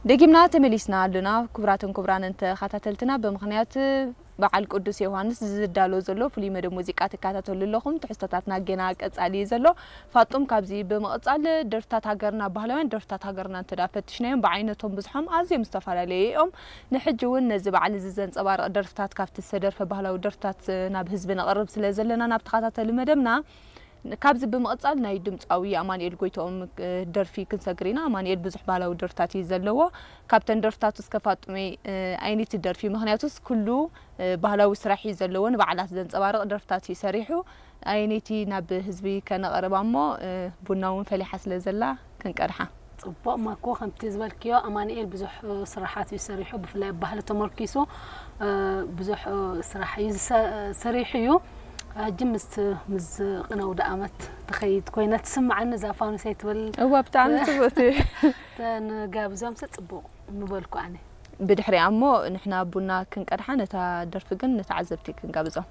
ደጊምና ተመሊስና ኣለና። ክቡራትን ክቡራንን ተኸታተልትና፣ ብምኽንያት በዓል ቅዱስ ዮሃንስ ዝዳሎ ዘሎ ፍሉይ መደብ ሙዚቃ ትከታተሉ ኣለኹም። ትሕዝቶታትና ገና ቀጻሊ እዩ ዘሎ። ፋጡም፣ ካብዚ ብምቕጻል ደርፍታት ሃገርና፣ ባህላውያን ደርፍታት ሃገርና እንተ ደኣ ፈቲሽናዮም፣ ብዓይነቶም ብዝሖም ኣዝዮም ዝተፈላለዩ እዮም። ንሕጂ እውን ነዚ በዓል እዚ ዘንጸባርቕ ደርፍታት ካብቲ ዝተደርፈ ባህላዊ ደርፍታት ናብ ህዝቢ ነቕርብ ስለ ዘለና፣ ናብ ተኸታተሊ መደብና ካብዚ ብምቕጻል ናይ ድምጻዊ ኣማኑኤል ጎይትኦም ደርፊ ክንሰግር ኢና። ኣማኑኤል ብዙሕ ባህላዊ ደርፍታት እዩ ዘለዎ። ካብተን ደርፍታቱ እስከ ፋጡመይ፣ ኣይነይቲ ደርፊ፣ ምኽንያቱስ ኩሉ ባህላዊ ስራሕ እዩ ዘለዎ፣ ንበዓላት ዘንጸባርቕ ደርፍታት እዩ ሰሪሑ። ኣይነይቲ ናብ ህዝቢ ከነቕርባ እሞ፣ ቡና እውን ፈሊሓ ስለ ዘላ ክንቀድሓ። ጽቡቕ ማኮ፣ ከምቲ ዝበልክዮ ኣማኑኤል ብዙሕ ስራሓት እዩ ሰሪሑ፣ ብፍላይ ኣብ ባህሊ ተመርኪሱ ብዙሕ ስራሕ እዩ ዝሰ-፣ ሰሪሑ እዩ። ሕጂ ምስ፣ ምስ ቅነ ኣውደኣመት ትኸይድ ኮይና ትስምዓኒ እዛ ፋኑሰይ ትብል። እዋ፣ ብጣዕሚ ጽቡቕቲ። ተንጋብዞምሲ ጽቡቕ ምበልኩ ኣነ። ብድሕሪኣ እሞ ንሕና ቡና ክንቀድሓ፣ ነታ ደርፊ ግን ንተዓዘብቲ ክንጋብዞም።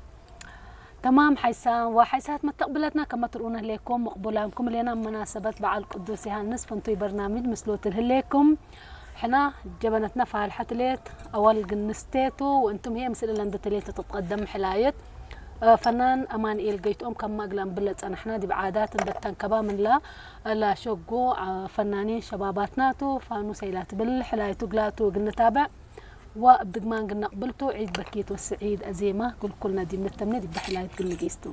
ተማም ሓይሳ፣ ወሓይሳት መተቕብለትና ከመ ትርእዩ ንህሌኩም ምቕቡላንኩም ሌና መናሰበት በዓል ቅዱስ ዮሃንስ ፍንቱይ በርናሚድ ምስሎት ልህሌኩም። ሕና ጀበነትና ፋልሐት ሌት፣ ኣዋል ግንስቴቱ፣ ወእንቱም ሄ ምስል ለንደተ ሌት ትትቀደም ሕላየት። ፈናን ኣማንኤል ገይትኦም ከም ማግላም ብለ ጸናሕና ዲብ ዓዳት እንደተንከባ ምንላ ላሸጎ ፈናኒን ሸባባትናቱ ፋኑስ ኣይላ ትብል ሕላይቱ ግላቱ ግንታበዕ ወእብ ድግማን ግነቕብልቱ ዒድ በኪት ወስዒድ ኣዜማ ኩልኩልና ዲብ ንተምነ ዲብ ሕላይት ግንጊስቱ።